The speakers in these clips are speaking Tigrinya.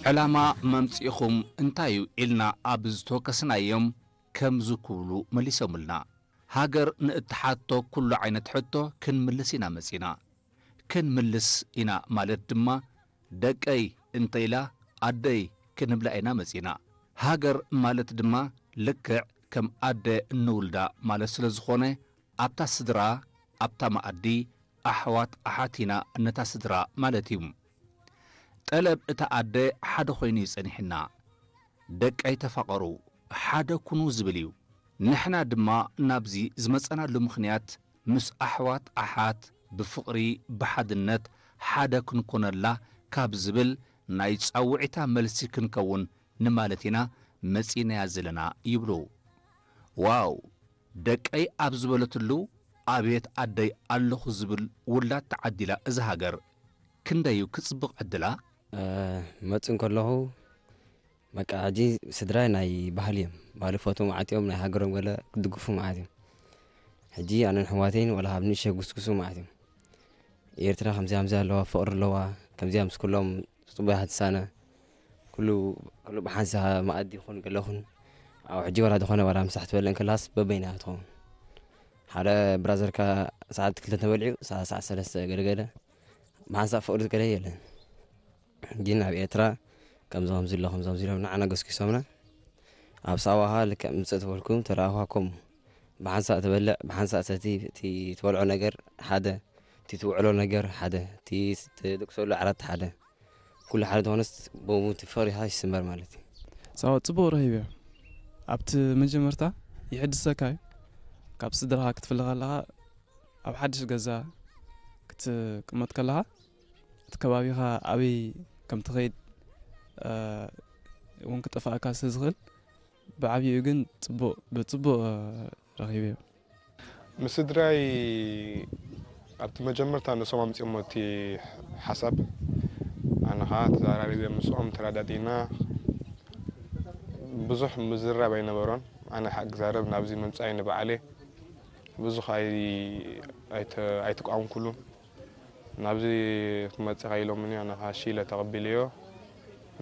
ዕላማ መምጽኢኹም እንታይ እዩ ኢልና ኣብ ዝተወከስናዮም ከምዚ ክብሉ መሊሶምልና። ሃገር ንእትሓቶ ኩሉ ዓይነት ሕቶ ክንምልስ ኢና መጺና። ክንምልስ ኢና ማለት ድማ ደቀይ እንተ ኢላ ኣደይ ክንብላ ኢና መጺና። ሃገር ማለት ድማ ልክዕ ከም ኣደ እንውልዳ ማለት ስለ ዝኾነ ኣብታ ስድራ ኣብታ መኣዲ ኣሕዋት ኣሓት ኢና ነታ ስድራ ማለት እዩ። ጠለብ እታ ኣደ ሓደ ኮይኑ እዩ ጸኒሕና። ደቀይ ተፋቐሩ፣ ሓደ ኩኑ ዝብል እዩ። ንሕና ድማ ናብዚ ዝመጸናሉ ምኽንያት ምስ ኣሕዋት ኣሓት ብፍቕሪ ብሓድነት ሓደ ክንኮነላ ካብ ዝብል ናይ ጻውዒታ መልሲ ክንከውን ንማለት ኢና መጺናያ ዘለና ይብሉ። ዋው ደቀይ ኣብ ዝበለትሉ ኣቤት ኣደይ ኣለኹ ዝብል ውላድ ተዓዲላ እዛ ሃገር። ክንደዩ ክጽብቕ ዕድላ። መጽእ እንከለኹ በቃ ሕጂ ስድራይ ናይ ባህሊ እዮም። ባህሊ ፈትዉ መዓት እዮም፣ ናይ ሃገሮም ገለ ክድግፉ መዓት እዮም። ሕጂ ኣነን ኣሕዋተይን ዋላ ካብ ንእሽተይ ጉስጉሱ መዓት እዮም። ኤርትራ ከምዚኣ ከምዚኣ ኣለዋ፣ ፍቕሪ ኣለዋ፣ ከምዚኣ ምስ ኩሎም ጽቡያት ትሳነ፣ ኩሉ ኩሉ ብሓንሳእ መኣዲ ይኹን ገለ ይኹን። ኣብ ሕጂ ዋላ ዝኾነ ዋላ ምሳሕ ትበልዕ እንከላስ በበይና ትኸውን። ሓደ ብራዘርካ ሰዓት ክልተ ተበልዑ ሰዓት ሰዓት ሰለስተ ገለ ገለ ብሓንሳእ ፍቕሪ ገለ የለን። ግን ኣብ ኤርትራ ከምዚ ከምዚ ኣሎ ከምዚ ከምዚ ኢሎም ንዓና ገስኪሶምና ኣብ ሳዋኻ ልክዕ ምጽእ ተበልኩም ተረኣኹ ከምኡ ብሓንሳእ ትበልዕ ብሓንሳእ ሰቲ እቲ ትበልዖ ነገር ሓደ እቲ ትውዕሎ ነገር ሓደ እቲ ትድቅሰሉ ዓራት ሓደ ኩሉ ሓደ ዝኾነስ ብኡ እቲ ፍቕሪኻ ይስመር ማለት እዩ። ሳዋ ጽቡቕ ረኺበዮ። ኣብቲ መጀመርታ ይሕድሰካ እዩ። ካብ ስድራኻ ክትፍለ ከለኻ ኣብ ሓድሽ ገዛ ክትቅመጥ ከለኻ እቲ ከባቢኻ ኣበይ ከም ትኸይድ እውን ክጠፍኣካ ስለ ዝኽእል ብዓብይኡ ግን ጽቡቕ ብጽቡቕ ረኺበዮ። ምስ ስድራይ ኣብቲ መጀመርታ ንሶም ኣምጺኦሞ እቲ ሓሳብ ኣነ ኸዓ ተዘራሪበ ምስኦም ተረዳዲእና ብዙሕ ምዝርራብ ኣይነበሮን ኣነ ኸዓ ክዛረብ ናብዚ ምምጻይ ንባዕለይ ብዙሕ ኣይተቃወምኩሉን ናብዚ ክትመጽእ ኢኻ ኢሎምኒ ኣነ ኸዓ እሺ ኢለ ተቐቢለዮ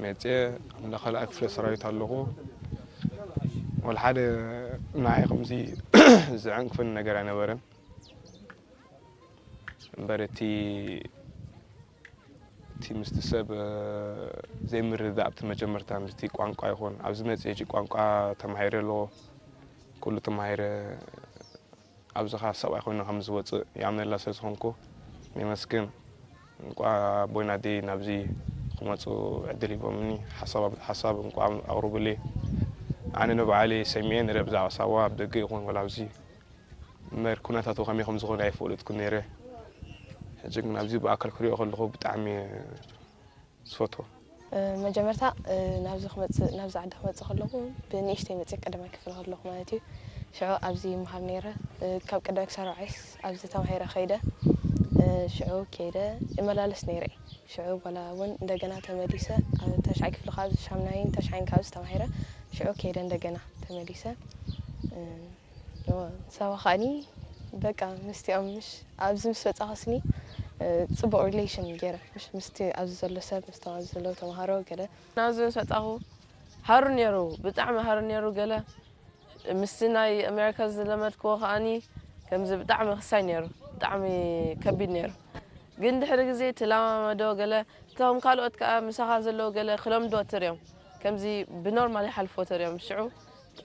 መጽየ እንዳ ካልኣይ ክፍለ ሰራዊት ኣለኹ ወላ ሓደ ንዓይ ከምዚ ዘዐንቅፈኒ ነገር ኣይነበረን እምበር እቲ እቲ ምስቲ ሰብ ዘይምርድዳእ ኣብቲ መጀመርታ ምስቲ ቋንቋ ይኹን ኣብዚ መጽየ ሕጂ ቋንቋ ተማሂረ ኣለኹ ኩሉ ተማሂረ ኣብዚ ኸዓ ሰብኣይ ኮይኑ ከም ዝወፅእ ይኣምነላ ስለ ዝኾንኩ የመስግን እንቋዕ ኣቦይን ኣደይ ናብዚ ክመፁ ዕድል ሂቦምኒ ሓሳብ ኣቕርቡለይ ኣነ ንባዕለይ ሰሚዐ ነረ ብዛዕባ ሳዋ ኣብ ደገ ይኹን ወላ ኣብዚ እምበር ኩነታቱ ከመይ ከም ዝኾነ ኣይፈለጥኩን ነይረ ሕጂ ግን ኣብዚ ብኣካል ክሪኦ ከለኹ ብጣዕሚ ዝፈትዎ። መጀመርታ ናብዚ ክመፅእ ናብዚ ዓዲ ክመፅእ ከለኹ ብንእሽተይ መፅእ ቀዳማይ ክፍሊ ከለኹ ማለት እዩ ሽዑ ኣብዚ ይመሃር ነይረ ካብ ቀዳማይ ክሳብ ራብዓይስ ኣብዚ ተማሂረ ከይደ ሽዑ ከይደ እመላለስ ነይረ እየ ሽዑ በላ እውን እንደገና ተመሊሰ ኣብ ተሽዓይ ክፍሊ ካብ ሻምናይን ተሽዓይን ካብዚ ተማሂረ ሽዑ ከይደ እንደገና ተመሊሰ ሳዋ ከዓኒ በቃ ምስቲኦም ምሽ ኣብዚ ምስ በጻኹስኒ ጽቡቕ relation ገይረ ምሽ ምስቲ ኣብዚ ዘሎ ሰብ ምስቶም ኣብዚ ዘለዉ ተምሃሮ ገለ ናብዚ ምስ በጻኹ ሃሩ ነይሩ ብጣዕሚ ሃሩ ነይሩ ገለ ምስቲ ናይ ኣሜሪካ ዝለመድክዎ ከዓኒ ከምዚ ብጣዕሚ ክሳይ ነይሩ ብጣዕሚ ከቢድ ነይሩ ግን ድሕሪ ግዜ ትለማመዶ ገለ እቶም ካልኦት ከዓ ምሳኻ ዘለዉ ገለ ክለምድዎ ትሪኦም ከምዚ ብኖርማል ይሓልፍዎ ተሪኦም ሽዑ